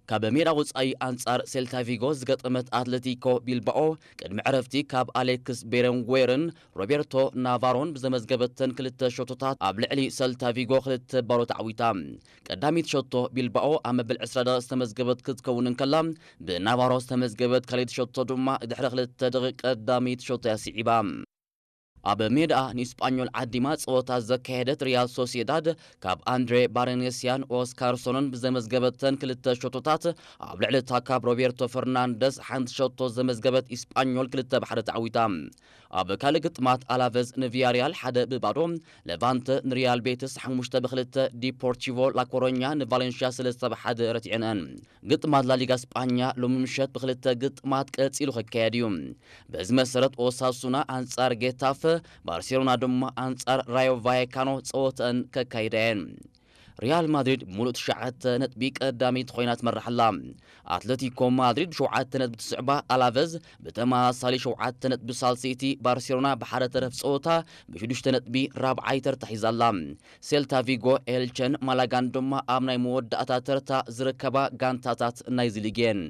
ካብ ሜዳ ወጻኢ ኣንጻር ሴልታ ቪጎ ዝገጠመት ኣትሌቲኮ ቢልባኦ ቅድሚ ዕረፍቲ ካብ ኣሌክስ ቤረንጉዌርን ሮቤርቶ ናቫሮን ብዘመዝገበተን ክልተ ሸቶታት ኣብ ልዕሊ ሰልታ ቪጎ ክልተ ባዶ ተዓዊታ። ቀዳሚት ሸቶ ቢልባኦ ኣብ መበል ዕስራ ደቂቕ ዝተመዝገበት ክትከውን እንከላ፣ ብናቫሮ ዝተመዝገበት ካልኣይቲ ሸቶ ድማ ድሕሪ ክልተ ደቂቕ ቀዳሚት ሸቶ እያ ስዒባ። ኣብ ሜዳኣ ንኢስጳኞል ዓዲማ ጸወታ ዘካየደት ሪያል ሶሲዳድ ካብ ኣንድሬ ባረኔስያን ኦስካርሶንን ብዘመዝገበተን ክልተ ሸቶታት ኣብ ልዕሊ ታካብ ሮቤርቶ ፈርናንደስ ሓንቲ ሸቶ ዘመዝገበት ኢስጳኞል ክልተ ብሓደ ተዓዊታ። ኣብ ካልእ ግጥማት ኣላቨዝ ንቪያሪያል ሓደ ብባዶ፣ ለቫንተ ንሪያል ቤትስ ሓሙሽተ ብክልተ፣ ዲፖርቲቮ ላኮሮኛ ንቫሌንሽያ ሰለስተ ብሓደ ረቲዐንአን። ግጥማት ላሊጋ ስጳኛ ሎሚ ምሸት ብክልተ ግጥማት ቀጺሉ ክካየድ እዩ። በዚ መሰረት ኦሳሱና ኣንጻር ጌታፈ፣ ባርሴሎና ድማ ኣንጻር ራዮ ቫየካኖ ጸወተአን ከካይዳ እየን። ሪያል ማድሪድ ብሙሉእ ትሽዓተ ነጥቢ ቀዳመይቲ ኮይና ትመርሕ ኣላ። ኣትለቲኮ ማድሪድ ብሸውዓተ ነጥቢ ትስዕባ፣ ኣላቨዝ ብተመሳሳሊ ሸውዓተ ነጥቢ ሳልሰይቲ፣ ባርሴሎና ብሓደ ተረፍ ጸወታ ብሽዱሽተ ነጥቢ ራብዓይ ተርታ ሒዛ ኣላ። ሴልታ ቪጎ፣ ኤልቸን ማላጋን ድማ ኣብ ናይ መወዳእታ ተርታ ዝርከባ ጋንታታት ናይዚ ሊግ እየን።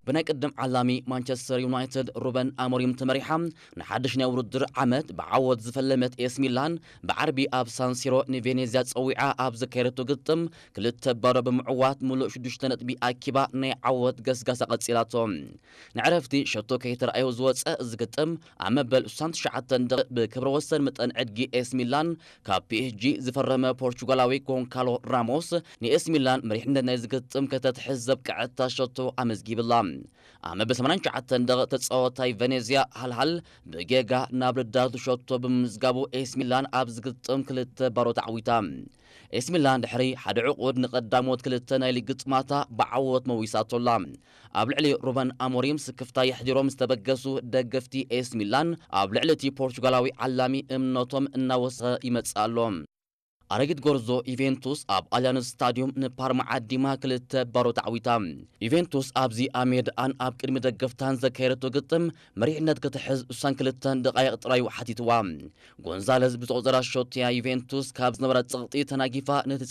ብናይ ቅድም ዓላሚ ማንቸስተር ዩናይትድ ሩበን ኣሞሪም ተመሪሓ ንሓድሽ ናይ ውድድር ዓመት ብዓወት ዝፈለመት ኤስ ሚላን ብዓርቢ ኣብ ሳንሲሮ ንቬኔዝያ ጸዊዓ ኣብ ዘካየደቶ ግጥም ክልተ ባዶ ብምዕዋት ምሉእ ሽዱሽተ ነጥቢ ኣኪባ ናይ ዓወት ገስጋሳ ቀጺላቶ። ንዕረፍቲ ሸቶ ከይተራእዮ ዝወጸ እዚ ግጥም ኣብ መበል ስሳን ትሽዓተን ደቂቕ ብክብረ ወሰን መጠን ዕድጊ ኤስ ሚላን ካብ ፒ ኤስ ጂ ዝፈረመ ፖርቹጋላዊ ጎንካሎ ራሞስ ንኤስ ሚላን መሪሕነት ናይ ዝግጥም ከተትሕዝ ዘብቅዐታ ሸቶ ኣመዝጊብላ። ኣብ መበል ሰማንያን ትሽዓተን ደቂቕ ተጻዋታይ ቬኔዝያ ሃልሃል ብጌጋ ናብ ረዳቱ ሸቶ ብምምዝጋቡ ኤስ ሚላን ኣብ ዝግጥም ክልተ ባዶ ተዓዊታ። ኤስ ሚላን ድሕሪ ሓደ ዕቑድ ንቐዳሞት ክልተ ናይ ሊግ ግጥማታ ብዓወት መዊሳቶላ። ኣብ ልዕሊ ሩበን ኣሞሪም ስክፍታ የሕዲሮም ዝተበገሱ ደገፍቲ ኤስ ሚላን ኣብ ልዕሊ እቲ ፖርቹጋላዊ ዓላሚ እምነቶም እናወሰኸ ይመጽእ ኣሎ። ኣረጊት ጎርዞ ዩቬንቱስ ኣብ ኣሊያንዝ ስታዲዮም ንፓርማ ዓዲማ ክልተ ባዶ ተዓዊታ። ዩቬንቱስ ኣብዚ ኣብ ሜዳኣን ኣብ ቅድሚ ደገፍታን ዘካየደቶ ግጥም መሪሕነት ክትሕዝ እሳን ክልተን ደቃይቕ ጥራዩ ሓቲትዋ። ጎንዛለዝ ብዝቆጸራ ሸቶያ ዩቬንቱስ ካብ ዝነበራ ጸቕጢ ተናጊፋ ነቲ